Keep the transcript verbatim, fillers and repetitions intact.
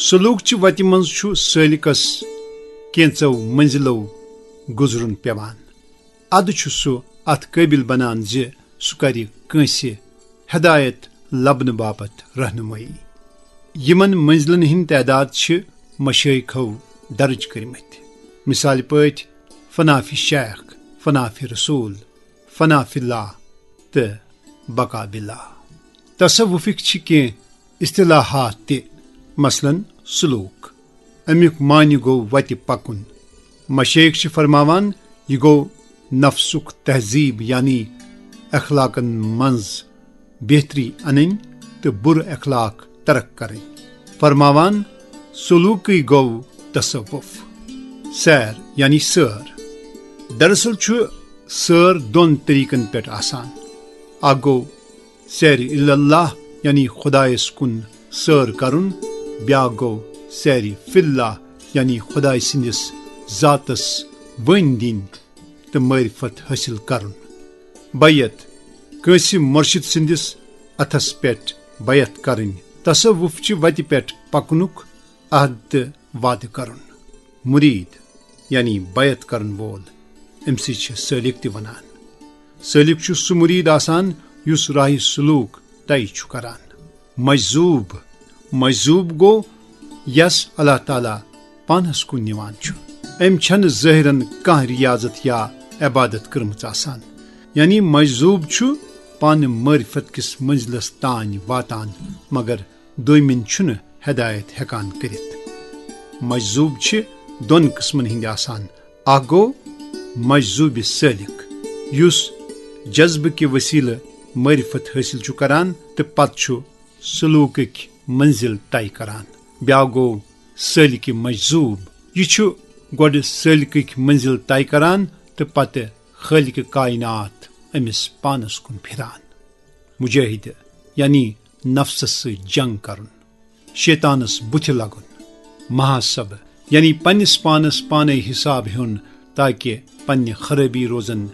سلوک چہِ وتہِ منٛز چھُ سٲلِکس کینٛژو منزلو گُزرُن پیوان۔ ادٕ چھُ سُہ اتھ قٲبِل بنان زِ سُہ کرِ کٲنٛسہِ ہدایت لبنہٕ باپتھ رہنمٲیی۔ یِمن منزلن ہٕنٛدۍ تعداد چھِ مشٲیخو درج کٔرمٕتۍ۔ مثال پٲٹھۍ، فنا فی شیخ، فنا فی رسول، فنا فی اللہ تہٕ بقا باللہ۔ تصوفٕکۍ چھِ کینٛہہ اصطلاحات تہِ، مثلاً سلوک۔ امیُک معنی گوٚو وتہِ پکُن۔ مشایخ چھِ فرماوان، یہِ گوٚو نفسُک تہذیب، یعنی اخلاقن منٛز بہتری انٕنۍ تہٕ بُرٕ اخلاق ترک کرٕنۍ۔ فرماوان، سلوکٕے گوٚو تصوف۔ سیر یعنی سٲر۔ دراصل چھُ سٲر دۄن طریقن پٮ۪ٹھ آسان۔ اکھ گوٚو سیر الی اللہ، یعنی خدایس کُن سٲر کرُن۔ بیاکھ گوٚو سیر فی اللہ، یعنی خداے سٕنٛدِس ذاتس ؤنۍ دِنۍ تہٕ معرفت حٲصِل کرُن۔ بیعت، کٲنٛسہِ مرشد سٕنٛدِس اتھس پٮ۪ٹھ بیعت کرٕنۍ۔ تصوف چہِ وتہِ پٮ۪ٹھ پکنُک عہد تہٕ وعدٕ کرُن۔ مرید، یعنی بیعت کرن وول، أمۍ سٕے چھِ سٲلِک تہِ ونان۔ سٲلِک چھُ سُہ مرید آسان یُس راہِ سلوک طے چھُ کران۔ مجذوب، مجذوب گوٚو یس اللہ تعالیٰ پانس کُن نِوان چھُ۔ أمۍ چھنہٕ ظٲہرن کانٛہہ ریاضت یا عبادت کٔرمٕژ آسان۔ یعنی مجذوب چھُ پانہٕ معرفت کِس منزلس تام واتان، مگر دویمٮ۪ن چھُنہٕ ہدایت ہیکان کٔرِتھ۔ مجذوب چھِ دۄن قٕسمن ہٕنٛدۍ آسان۔ اکھ گوٚو مجذوب سٲلِک، یُس جذبہٕ کہِ وسیلہٕ معرفت حٲصِل چھُ کران تہٕ پتہٕ چھُ سلوکٕکۍ منزل طے کران۔ بیاکھ گوٚو سٲلِک مجذوب۔ یہِ چھُ گۄڈٕ سٲلِکٕکۍ منزل طے کران تہٕ پتہٕ خٲلِق کائنات أمِس پانس کُن پھران۔ مجاہدٕ، یعنی نفسس سۭتۍ جنگ کرُن، شیطانس بُتھِ لگُن۔ محاسبہٕ، یعنی پننِس پانس پانے حساب ہیوٚن، تاکہ پننہِ خرٲبی روزن